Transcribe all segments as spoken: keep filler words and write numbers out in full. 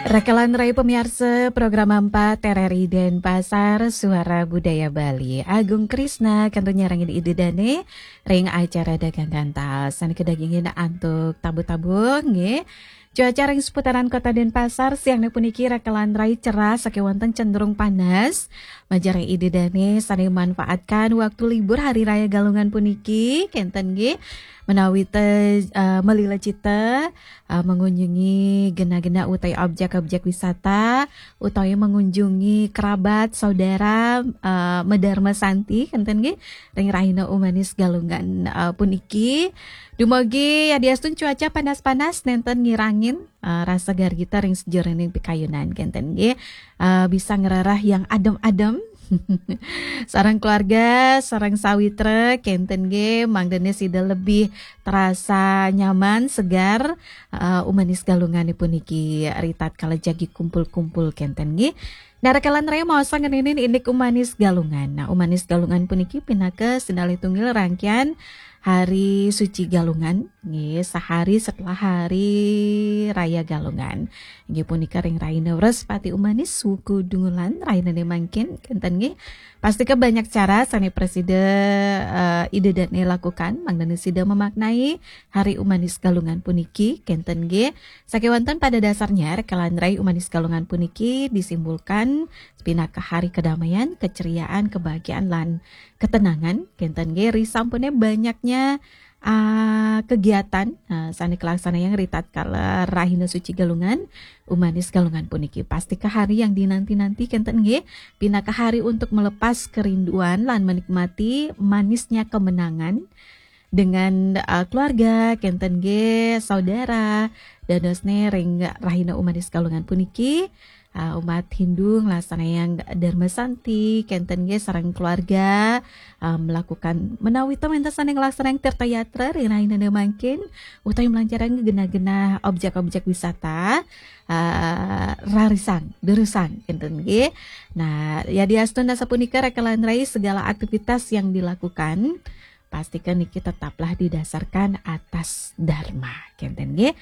Rakalan rai pamiarsa program empat R R I Denpasar, Suara Budaya Bali. Agung Krisna kantun nyarengin Ida Dane ring acara Dagang Gantal. Sane kadagingin antuk tabuh-tabuh nggih. Cuaca ring seputaran Kota Denpasar siang puniki rakalan rai cerah sakewanten cenderung panas. Majeng ring Ida Dane sane manfaatkan waktu libur Hari Raya Galungan puniki kenten nggih. Menawi te uh, melila cita uh, mengunjungi gena-gena utawi objek-objek wisata, utawi mengunjungi kerabat, saudara, uh, Medarma Santi kenten nggih ring rahina Umanis Galungan uh, puniki. Dumugi yadiastun cuaca panas-panas nenten ngirangin uh, rasa gargita ring sajeroning pikayunan kenten nggih. Uh, bisa ngrereh yang adem-adem. Sareng keluarga, sareng sawitra kenten nggih, mangdane sida lebih terasa nyaman, segar, uh, Umanis Galungan puniki ritatkala jagi kumpul-kumpul kenten nggih. Nah, rakalan rai maosang ngeninin indik Umanis Galungan. Nah, Umanis Galungan puniki pinaka sinalih tunggil rangkaian Hari Suci Galungan, nggih, sehari setelah Hari Raya Galungan. Nggih punika ring rahina Wrespati Umanis, wuku Dungulan, rahinane mangkin kenten nggih. Pastika banyak cara sane prasida uh, Ida Dane lakukan mangdane sida memaknai Hari Umanis Galungan puniki kenten nggih. Sakewanten pada dasarnya rakalan rai Umanis Galungan puniki disimbolkan pinaka hari kedamaian, keceriaan, kebahagiaan lan ketenangan kenten nggih. Risampune banyaknya uh, kegiatan uh, sane kalaksanayang ritatkala rahina suci Galungan, Umanis Galungan puniki. Pastika hari yang dinanti-nanti kenten nggih, pinaka hari untuk melepas kerinduan lan menikmati manisnya kemenangan dengan uh, keluarga kenten nggih, saudara, dadosne ring rahina Umanis Galungan puniki. Uh, umat Hindu nglaksanayang Dharma Santi kenten nggih sareng keluarga, uh, melakukan menawi to wenten sane nglaksanayang tirta yatra ring rahinane mangkin utawi melancarang genah-genah objek-objek wisata uh, rarisang durusang kenten nggih. Nah, yadiastun sapunika rakalan rai segala aktivitas yang dilakukan pastikan niki tetaplah didasarkan atas dharma kenten nggih.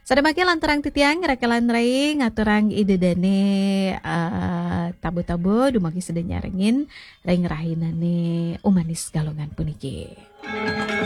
Sadamake lanturang titiang rakalan rai ngaturang Ida Dane uh, tabuh-tabuh dumugi sida nyarengin ring rahinane Umanis Galungan puniki.